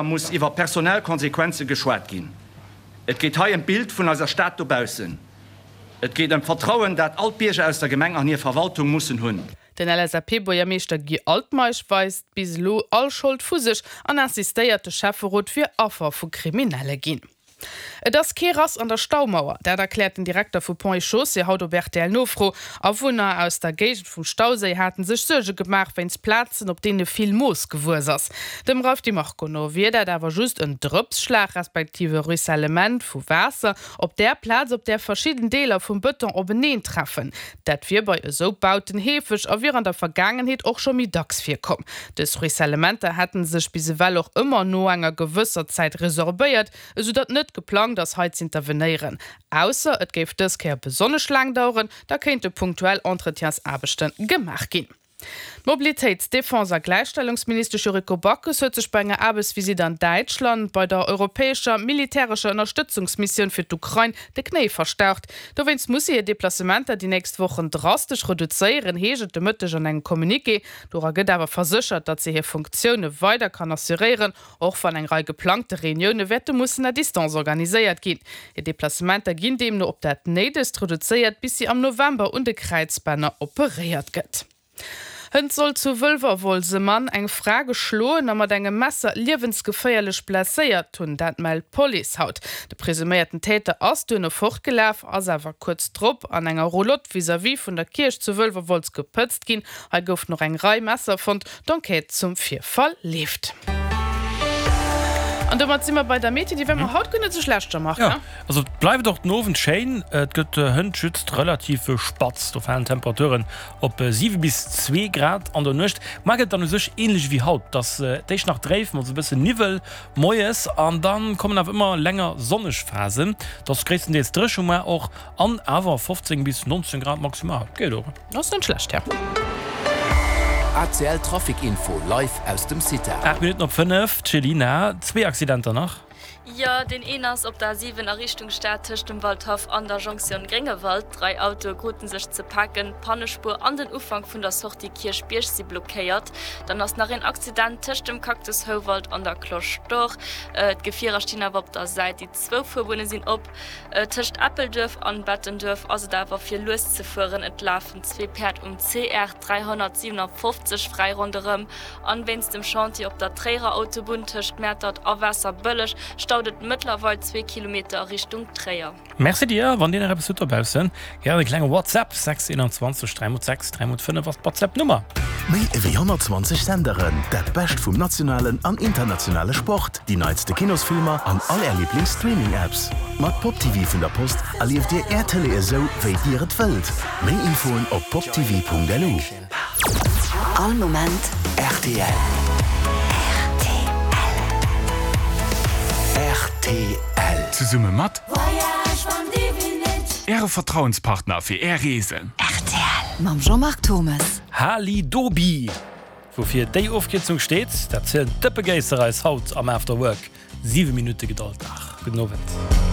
Muss iwwer personell Konsequenze geschwat ginn. Et geet hei ëm d'Bild vun eiser Stad dobaussen. Et geet ëm d'Vertrauen, dat all d'Bierger aus der Gemeng an hir Verwaltung mussen hunn. Den LSAP-Buergermeeschter Guy Altmeisch weist bis elo all Schold vu sech an insistéiert, de Schäfferot wier Affer vu Kriminelle ginn. Et ass kee Rass an der Staumauer, dat erkläert den Direkter vu Ponts et Chaussées haut op RTL-Nofro. Awunner aus der Géigend vum Stauséi hate sech Suerge gemaach wéinst Plazen, op deene vill Moos gewuess ass. Dem Ralph Di Marco no wier dat awer just en Drëpsschlag, respektiv e Ruissellement vu Waasser op där Plaz, op där verschidden Deeler vum Bëton openeen treffen. Dat wier bei esou Bauten heefeg a wier an der Vergaangenheet och scho méi dacks virkomm. Dës Ruissellementer hätte sech bis ewell och ëmmer no enger gewësser Zäit resorbéiert, esou datt net geplangt ass hei z'intervenéieren. Ausser et géif dës Kéier besonnesch laang daueren, da kéinte punktuell Entretiensaarbechte gemaach ginn. D'Mobilitéits-, Defense a Gläichstellungsministesch Yuriko Backes huet sech bei enger Aarbechtsvisitt an Däitschland bei der europäescher militärescher Ënnerstëtzungsmissioun fir d'Ukrain de Knéi verstaucht. Dowéinst muss si hir Deplacementer déi nächst Wochen drastesch reduzéieren, heescht et de Mëtteg an engem Communiqué. Dora gëtt awer verséchert, datt si hir Funktioune weider kann assuréieren, Och wann eng Rei geplangte Reunioune wäerte mussen à distance organiséiert ginn. Hir Deplacementer ginn deemno op dat Néidegst reduzéiert, bis si am November un de Kräizbänner operéiert gëtt. Hënt soll zu Wëlwerwolz e Mann eng Fra geschloen a mat engem Messer liewensgeféierlech blesséiert hunn. Dat mellt d'Police haut. De presuméierten Täter ass duerno fortgelaf, ass awer kuerz drop an enger Roulotte vis-à-vis vun der Kierch zu Wëlwerwolz gepëtzt ginn. Hei goufen och eng Rei Messer fonnt. D'Enquête zum Virfall leeft. An domat si mer bei der Meteo, déi war mer haut guer net esou schlecht, Jean-Marc, ne? Jo, also et bleift och den Owend schéin, et gëtt hënt just relativ spatz. Do falen d'Temperaturen op 7 bis 2 Grad an der Nuecht. Muar gëtt et dann u sech änlech ewéi haut, et ass d'éischt nach dréif mat esou e bëssen Niwwel moies an da kommen awer ëmmer länger sonneg Phasen. Et ass gréisstendeels dréche muar och an awer 15 bis 19 Grad maximal, geet och. Ass net schlecht, ja. ACL Trafic Info live aus dem CITA. 8 Minutten op 5, d'Chelina, zwee Accidenter nach. Jo, deen een ass op der A7 a Richtung Stad tëscht dem Waldhaff an der Jonktioun Gréngewald. Drai Autoe krute sech ze paken, d'Pannespuer an den Ufank vun der Sortie Kierchbierg si blockéiert. Dann ass nach een Accident tëscht dem Cactus Houwald an der Cloche d'Or. D'Gefierer stinn awer op der Säit, déi zwou Fuerbunne sinn op. Tëscht Eppelduerf an Bettenduerf ass et awer fir lues ze fueren. Et lafen zwee Päerd um CR 357 fräi ronderëm. An wéinst dem Chantier op der Tréierer Autobunn tëscht Mäertert a Waasserbëlleg staut et mëttlerweil zwee Kilometer a Richtung Tréier. Merci dir. Wann dir nach eppes hutt dobaussen, gären e klenge WhatsApp, 6 21 3 x 6 3 x 5 ass d'WhatsApp Nummer. Méi ewéi 120 Senderen, dat Bescht vum nationalen an internationale Sport, déi neitste Kinosfilmer an all är Liiblings-Streaming-Apps. Mat PopTV vun der Post erlieft dir är Tëlee esou, wéi dir et wëllt. Méi Infoen op poptv.lu. All Moment rtl. Rtl. Zesumme mat Äre Vertrauenspartner fir Är Reesen. Rtl mam Jean-Marc Thommes. Halidobi! Woufir déi Ofkierzung steet, dat zielen d'Dëppegéisser eis haut am After Work. 7 Minutte gedollt nach. Gudden Owend.